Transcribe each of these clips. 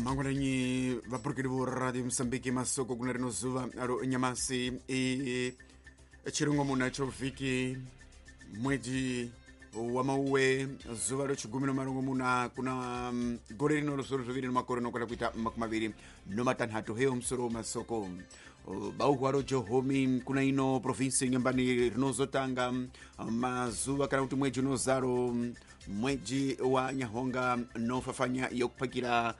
Mangwananyi vapurukeli vo Radio Mosambiki, masoko kuna rino zuva ro nyamasi i chirongomuna cho vhiki mwedzi wa mauwe zuva ro chigumi no marongomuna kuna gore rino ro zviro zviviri no makore nokwenda kuita makumi maviri no matanhatu. Heyo musoro masoko bauhwa ro Johomi kuna ino provinsi Nyambani rinozotanga mazuva kana kuti mwedzi unozaro mwedzi wa Nyahonga nofafanya yokupakira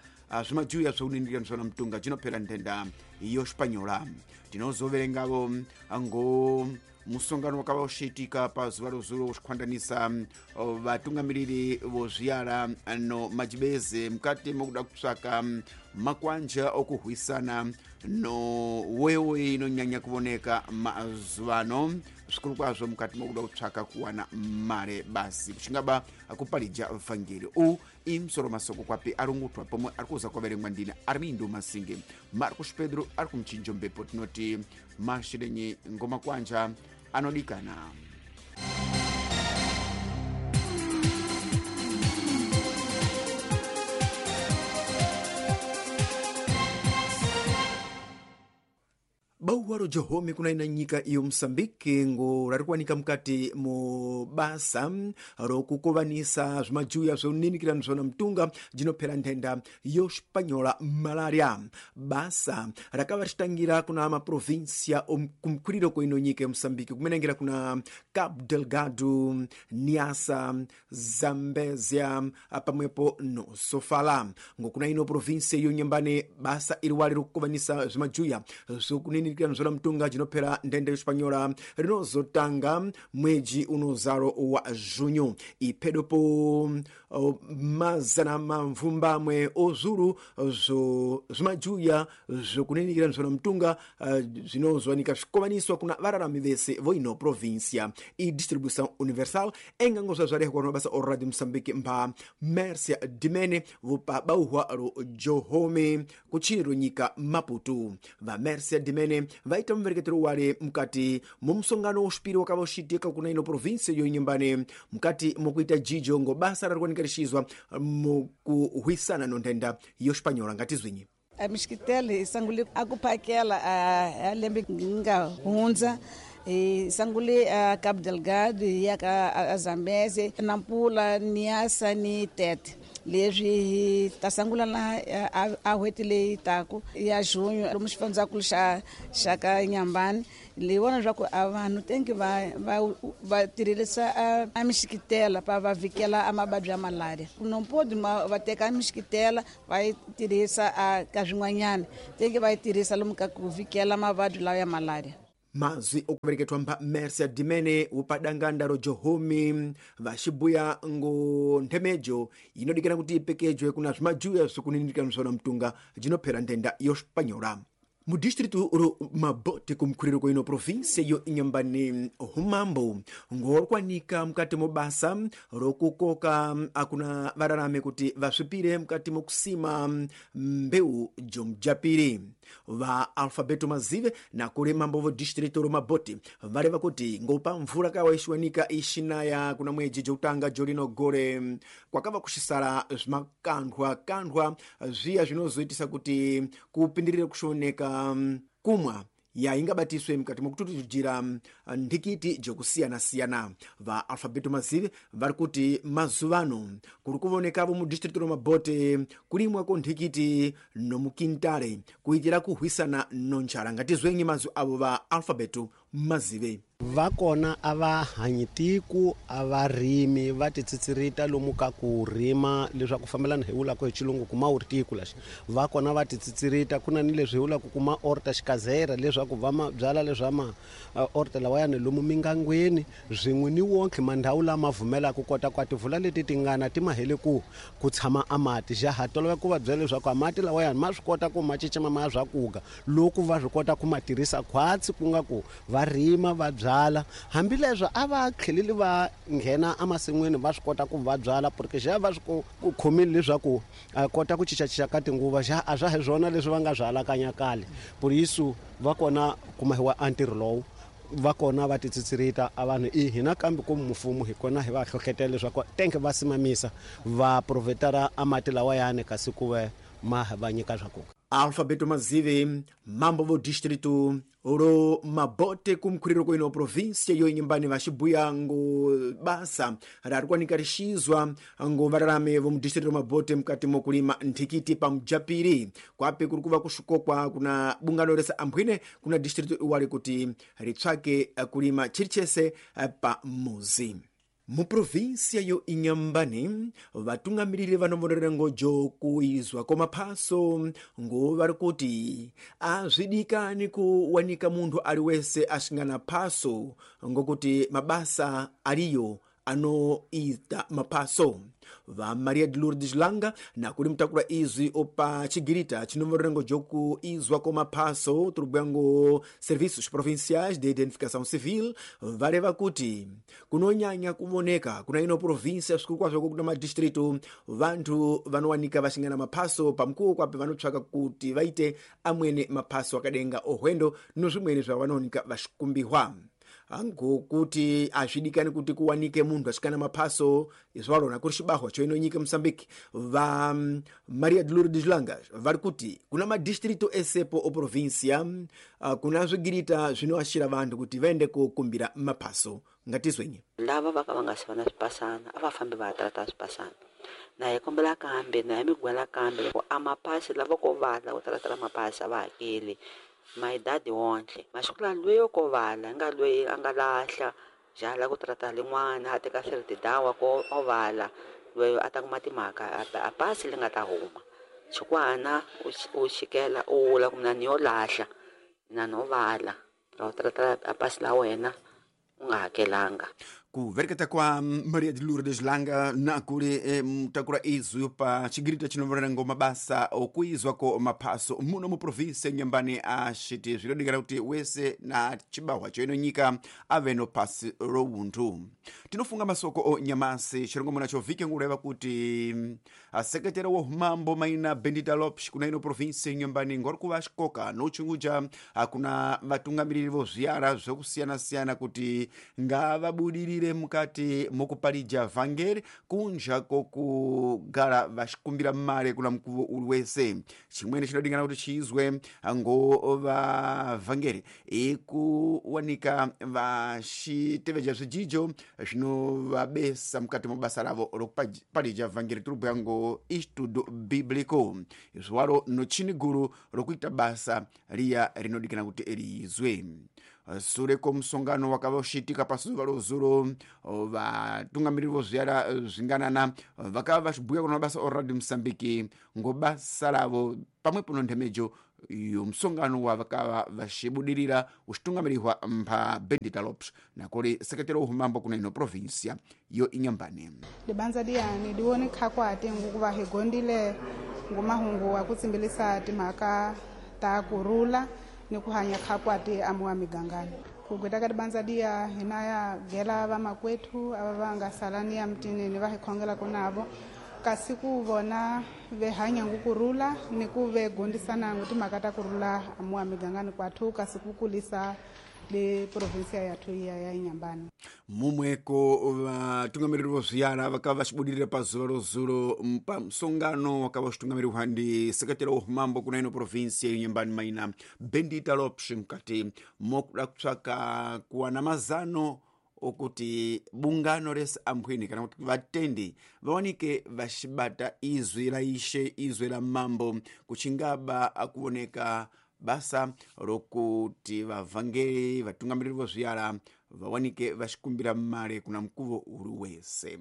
zvimajuya zvokunindira zvona mutunga cinophera nthenda yo Espanyola. Tinozoverengavo ngo musongano wakava ushiitika pa zuva rozulo uxikhwandanisa vatungamiriri vozviyala no majibeze mukati mokuda kupsaka makwanja okuhwisana no wewe inonyanya kuvoneka mazuvano, zvikuru kwazvo mukati mokuda kupsaka kuwana mare basi kuchingaba kupalija vhangeri. U imusoro masoko kwapi arungutwa pomwe ari kuza kwaverengwa ndina Armindo Masinge. Marcos Pedro ari kumchinjo mbepo. Tinoti mashirenyi ngoma kwanja anodikana. Bauwa ro Johomi kuna ina nyika iyo Mosambike ngo rari kuwanika mukati mo basa rokukovanisa zvimajuya zvoninikira zvona mutunga jinophera nthenda yo Espanyola, malaria. Basa rakava richitangira kuna maprovinsia kumkwiriro kwa ino nyika ya Mosambike, kumenengera kuna Cabo Delgado, Niassa, Zambezia pamwepo no Sofala. Ngo kuna ino provinsia yo Nyambane basa iri wali rokukovanisa zvimajuya zvokuninira nzvola mutunga jinophera nthenda yo Espanyola rinozotanga mwedzi unozaro wa junho, iphedopo mazana mamvumbamwe ozulu zvo zvimajuya zvokuninira nzvola mutunga zvinozowanika zvikovaniswa kuna vararami vese voino província. E distribuição universal engango zvazvarehwa no basa o Radio Moçambique mba Mércia Dimene vopa bauhwa ro Johome kuchiro nyika Maputo. Va Mércia Dimene vaita muvereketero wale mukati mumusongano uxipiri wakava uxiitika kuna ino província yo Inhambane mukati mokuita jijo ngo basa rarikuwanika rixizwa mukuhwisana no nthenda yo Espanyola. Ngatizwinyi. A mixikitele hi sungule a ku phakela a lembe nga hundza. Hi sungule a Cabo Delgado, hi ya ka a Zambeze, Nampula, Niassa ni Tete. Leswi hi ta sungula na a n'hweti leyi taku ya junho lomu xifundzakulu xa ka Nyambani. Leyi vona leswaku a vanhu tenki va tirhisa a mixikitela pa va vhikela a mavabyi ya malaria. No podi va teka mixikitela va yi tirhisa a ka swin'wanyana, tenki va yi tirhisa lomu ka ku vhikela mavabyi lawa ya malaria. Mazwi okuvereketwa mba Mercia Dimene upadanganda ro Johomi vaxibuya ngo nthemejo inodikana kuti ipekejwe kuna zvimajuya zvikuninirika msona mtunga jinophera nthenda yo Espanyola. Mudistritu ro Mabote kumkhuliro kwa ino província yo Inhambane, humambo ngorikwanika mukati mo basa rokukoka akuna vararame kuti vasvipire mukati mokusima mbeu jomujapiri. Va Alfabeto Mazive nakuli mambo vo distrito ro Mabote vareva kuti ngopa mvula kawa ixiwanika ixinaya kuna mwedzi jokutanga jolino gore, kwakava kuxisala zvimakanthwa kanthwa zviya zvinozoitisa kuti kupindirire kuxioneka kumwa ya ingabatiswe mukati mokututujira nthikiti jokusiyana-siyana. Va Alfabeto Mazive vari kuti mazuvano kuri kuvonekavo mu distrito ro Mabote kulimwa ko nthikiti nomukintale kuitira kuhwisana no njala. Ngatizwenyi mazwi avo va Alfabeto Mazive. Va kona a va hanyi tiku, a va rimi, va titsitsirita lomu ka ku rima leswaku fambelana hi vulaka hi xilungu kuma wu ri tiku laxi. Va kona va titsitsirita ku na ni leswi hi vulaka kuma orta xikazera, leswaku va ma byala leswa ma orta lawayani lomu mingangweni swin'we ni wonke mandhawu lama vumelaka kota ku a tivula leti tingana ti ma hele ku tshama a mati. Xa ha tolovela ku va byela leswaku a mati lawayani ma swi kota ku ma cicima ma ya swakuga loko va swi kota ku ma tirhisa khwatsi, ku nga ku va rima va byala. Hambileswo a va tlheleli va nghena emasin'wini, va swi kota ku va byala porque xa va swi ku khomile leswaku a kota ku cincacinca ka tinguva xa a swa hi swona leswi va nga swi alakanya kale. Por isso va kona kumahiwa a ntirho lowu, va kona va titsitsirita a vanhu i hina, kambe ku mfumo hi kona hi va hlohlotela leswaku tenke va simamisa va provhetara a mati lawayani kasi ku ve Ma va nyika swakudya. Alfabeto Mazive, mambo vo distrito ro Mabote kumkhuliro kwino província yo Inhambane vaxibuya ngo basa rari kwanika rixizwa ngo vararame vo mudistrito Mabote mukati mokulima nthikiti pa mujapiri kwape kuri kuva kuxikokwa kuna bungano rese ambwine kuna distrito iwali kuti ritsvake kulima chirichese pa muzi. Muprovinsia yo Inhambane vatungamiriri vanovonerera ngojo kuizwa kwamaphaso ngo vari kuti azvidikani kuwanika munthu ali wese asingana phaso ngokuti mabasa aliyo anoita maphaso. Va Maria de Lourdes Langa nakuli mtakula izwi opa chigirita chinovonerera ngojo kuizwa kwamaphaso turubwa ngo Serviços Provinciais de Identificação Civil vareva kuti kunonyanya kuvoneka kuna ino província svikuru kwazvo kuna madistrito vanthu vanowanika vasingana maphaso pamkuwo kwape vanotsvaka kuti vaite amwene maphaso akadenga ohwendo nozvimweni zvavanowanika vaxikumbihwa. Ngokuti azvidikani kuti kuwanike munthu asikana maphaso izwalona kuri xibahwa choino nyika Moçambique. Va Maria de Lourdes Langa vari kuti kuna madistrito esepo o província kuna zwigirita zvinoashira vanthu kuti vaende kokumbira maphaso. Ngatizwenye lava va ka va nga si va na swipasana a va fambi va ya trata swipasana na hi kombela kambe na hi migwela kambe loko a maphasi lava ko vala ku talatala maphasi a va hakeli mayidadi wontle masiku la lweyo ko vala nga lweyi a nga lahla jala ku trata lin'wana a teka siritidawa ko o vala lweyo a ta kuma timhaka a pasi li nga ta huma xikwana u xikela u vula ku mina ni yo lahla mina no vala ra u trata a pasi la wena u nga hakelanga. Kuvereketa kwa Maria de Lourdes Langa nakuli mtakura izwi pa chigirita chinovorera ngo mabasa okuizwa ko maphaso muno mu província Inhambane axiti zvinodikana kuti wese na chibahwa choino nyika ave no phasi ro unthu. Tinofunga masoko o nyamasi chirongomona chovhike ngureva kuti sekretari wa humambo maina Bendita Lopes kuna ino província Inhambane ngori kuva xikoka nochunguja kuna vatungamiriri vo zviara zvokusiyana-siyana kuti ngavabudirire mukati mokupalija vhangeri kunja kokugara vaxikumbira mare kuna mukuvo uli wese. Chimweni chinodingana kuti chiizwe ngo vavhangeri ikuwanika vaxiteveja zvijijo zvinovabesa mukati mobasa ravo rokupalija vhangeri turubhuya ngo Estudo Bíblico izwaro nochini guru rokuita basa riya rinodikana kuti riizwe. Sure komusongano wakava uchiitika pasuva rozuro vatungamiriri vozviara zvinganana vakava vachibhuya kuna mabasa oradio Moçambique ngo basa ravo pamwepo nonthemejo yomusongano wavakava vachibudirira uchitungamirihwa mpha Bendita Lopes nakoli sekretari wa humambo kuna ino província yo Inhambane. Libanza liyani liwone khakwate ngukuva hi gondile ngumahungu wa kutsimbilisa timhaka ta kurula ni ku hanya khakwate amuwa migangani kugweta ka libanza liya hina ya gela vamakwethu ava va nga salani ya mutini ni va hi khongelaka navo kasi ku vona ve hanya ngukurula ni ku ve gondisana ngu timhaka ta kurula amuwa migangani kwathu kasi ku kulisa le provinsia yathu iya ya Inhambane. Mumweko vatungamiriri vozviara vakava vachibudirira pazuva rozuro pamusongano wakava uchitungamirihwa ndi sekretari wa humambo kuna ino provinsia Inhambane maina Bendita Lopes mukati mokuda kutsvaka kuwana mazano okuti bungano rese ambwini kana kuti vatendi vawanike vachibata izwi la ishe izwi la mambo kuchingaba akuoneka basa rokuti vavhangeri vatungamiriri vozviara vawanike vachikumbira mare kuna mukuvo uri wese.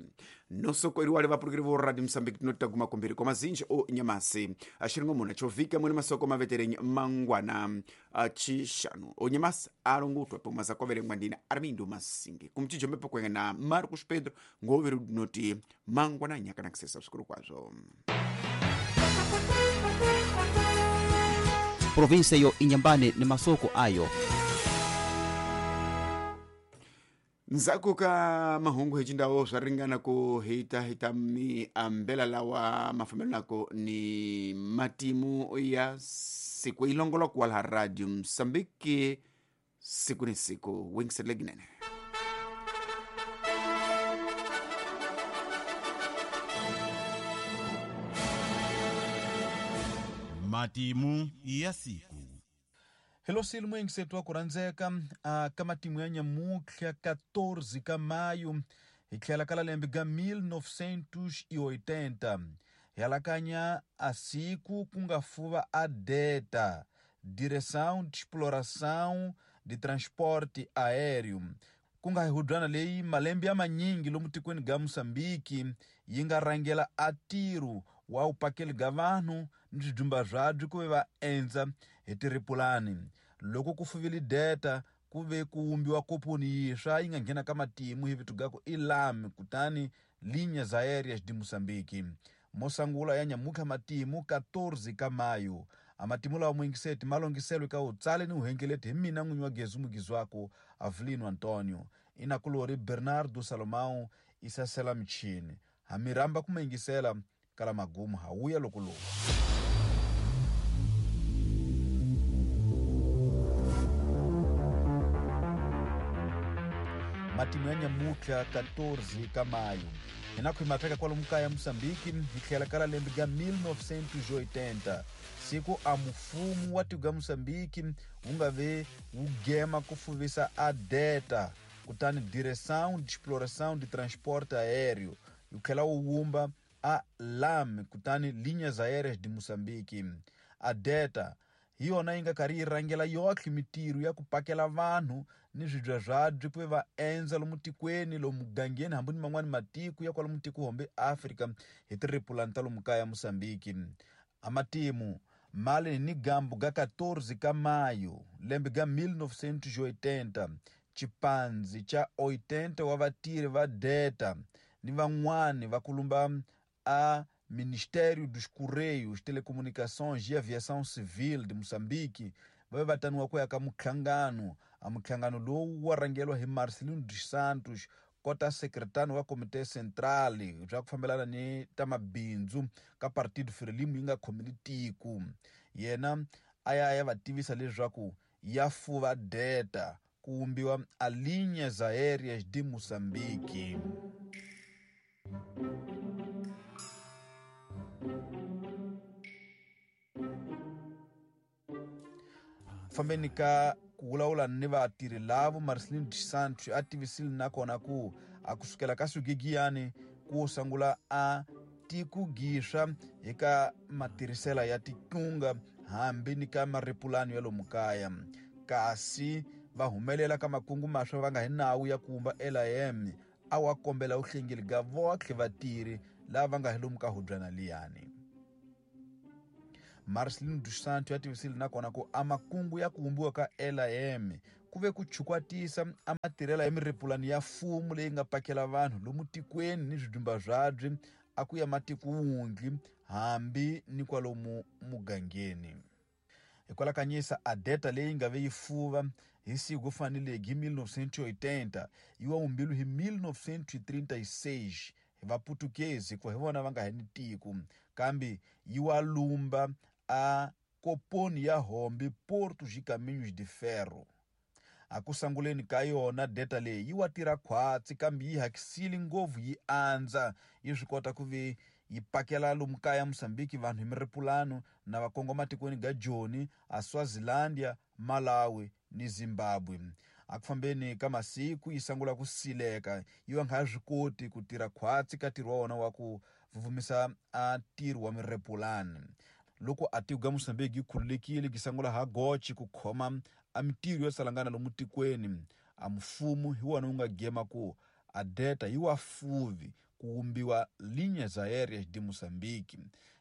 Nosoko iri wali vapurukiri vo Radio Moçambique tinotaguma kumbiri kwa mazinji o nyamasi axiringomuna chovhika mwene masoko maveterenyi mangwana achixanu o nyamasi alongotwa pomwe zakuaverengwa ndina Armindo Masingi kumchijo mbepo kwenga na Marcos Pedro ngoveri dinoti mangwana nyakana kusesa svikuru kwazvo. Provinsia yo Inhambane ni masoko ayo. Ndzhaku ka mahungu hi cindawo swa ringana ku hita hita miambela lawa mafambelako ni matimu ya siku ilongoloko wa laha Radio Mozambique siku ni siku wingiserile ginene. Matimu ya siku. Hello sili muyingisetu wa ku rhandzeka ka matimu ya nyamutlha 14 ka mayu hi tlhela ka lembe ga 1980 hi alakanya a siku ku nga fuva a DETA, Direção de Exploração de Transporte Aéreo, ku nga hubyana leyi malembe ya manyingi lomu tikweni ga Mosambiki yi nga rhangela a ntirho wa vupakeli ga vanhu ni swidyumba byabyo ku ve va endza hi tiripulani. Loko ku fuvile DETA ku ve ku wumbiwa komponi yintshwa yi nga nghena ka matimu hi vito ga ku i LAM, kutani Linhas Aéreas de Moçambique. Mosangula ya nyamutlha matimu 14 ka mayu. A matimu lawa muyingiseti ma longiselwe ka utsale ni uhengeleti hi mina n'winyi wa Gezu Mugizwako Avelino Antonio, inakulori Bernardo Salomão isasela michini. Hamiramba kumayingisela kala magumu hawuya loko loku. Matimu ya nyamutlha 14 ka mayu hina ku hi matheka kwalomu kaya Mosambiki hi tlhela ka lembe ga 1980 siku a mufumu wa tiko ga Mosambiki wu nga ve wu gema ku fuvisa a DETA, kutani Direção de Exploração de Transporte Aéreo, yi tlhela wu wumba a LAM, kutani Linhas Aéreas de Moçambique. A DETA hi yona yi nga karhi yi rhangela yohle mitirho ya ku pakela vanhu ni swibya byabyo ku ve va endza lomu tikweni, lomu mugangeni, hambi ni man'wani matiko ya kwalomu tiko hombe Afrika hi tiripulani ta lomu kaya Mosambiki. A matimu mali ni gambu ga 14 ka mayu lembe ga 1980 chipanzi cha 80 wa vatirhi va DETA ni van'wani va kulumba a Ministério dos Correios, Telecomunicações e Aviação Civil de Moçambique va ve va taniwa ku ya ka muhlangano. A muhlangano lowu wa rhangeriwa hi Marcelino dos Santos, kota sekretari wa Komite Central bya ku fambelana ni ta mabindzu ka Partido Frelimo yi nga khomeli tiko. Yena a ya ya va tivisa leswaku ya fuva DETA ku wumbiwa a Linhas Aéreas de Moçambique. Fambeni ka ku vulavula ni vatirhi lavo, Marcelino dos Santos a tivisile nakona ku a kusukela ka swigigiyani ku sungula a tikugiswa hi ka matirhisela ya tikunga hambi ni ka maripulani ya lomu kaya, kasi va humelela ka makungu maswa va nga hi nawu ya ku wumba LAM a wa kombela vuhlengeli ga votlhe vatirhi lava va nga hi lomu ka hubyana liyani. Marcelino dos Santos ya tivisile nakona ku a makungu ya ku wumbiwa ka LAM ku ve ku chukwatisa a matirhela ya miripulani ya mfumo leyi nga pakela vanhu lomu tikweni ni swidyumba byabyo a ku ya matiko wundli hambi ni kwalomu mugangeni. Hikwalakanyisa a DETA leyi nga ve yi fuva hi siku faneleke hi 1980 yi wa wumbilu hi 1936 hi vaputukezi hikuva hi vona va nga hi ni tiko, kambe yi wa lumba a koponi ya hombe Portos e Caminhos de Ferro. A ku sanguleni ka yona DETA leyi yi wa tirha khwatsi, kambe yi hakisile ngopfu yi andza yi swi kota ku ve yi pakela lomu kaya Mosambiki vanhu hi miripulano na va kongoma tikweni ga Joni, a Swazilandia, Malawi ni Zimbabwe. A ku fambeni ka masiku yi sungula ku sileka yi va nga swi koti ku tirha khwatsi ka ntirho wa wona wa ku vuvumisa a ntirho wa miripulani. Loko a tiko ga Mosambiki yi khululekile yi sungula ha gochi ku khoma a mitirho yo salangana lomu tikweni, a mfumo hi wona wu nga gema ku a DETA yi wa fuvi ku wumbiwa Linhas Aéreas de Moçambique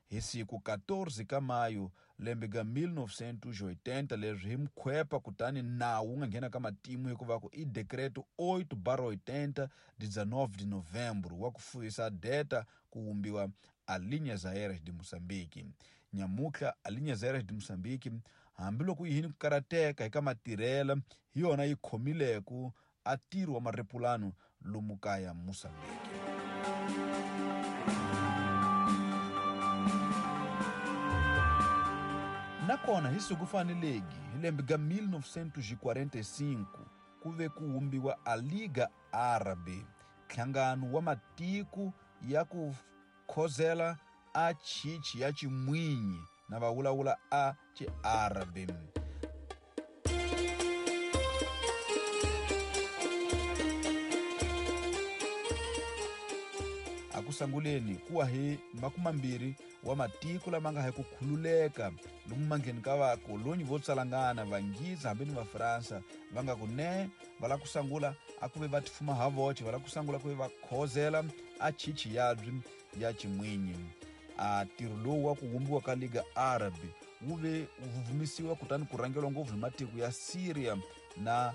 hi siku 14 ka mayu lembe ga 1980 leswi hi mukhwepa, kutani nawu wu nga nghena ka matimu hikuva ku i Decreto 8/80 19 de Novembro wa ku fuvisa DETA ku wumbiwa a Linhas Aéreas de Moçambique. Nyamutlha a Linhas Aéreas de Moçambique hambiloko yi hini ku karateka hi ka matirhela hi yona yi khomileku a ntirho wa maripulano lomu kaya Mosambiki. Nakona hi siku faneleki hi lembe ga 1945 ku ve ku wumbiwa a Liga Árabe, nhlangano wa matiko ya ku khozela a chichi ya chimwinyi Na va vulavula a Xiarabi. A ku sanguleni kuwa hi 20 wa matiko lama nga hi ku khululeka lomu mangheni ka vakolonyi vo tsalangana Vanghiza hambi ni Vafransa, va nga ku ne va lava ku sangula a ku ve va tifuma ha voce, va lava ku sangula ku ve va khozela a chichi yabyi ya ximwinyi. A ntirho lowu wa ku vumbiwa ka Liga Arab wu ve wu vumisiwa kutani ku rhangeriwa ngopfu hi matiko ya Syria na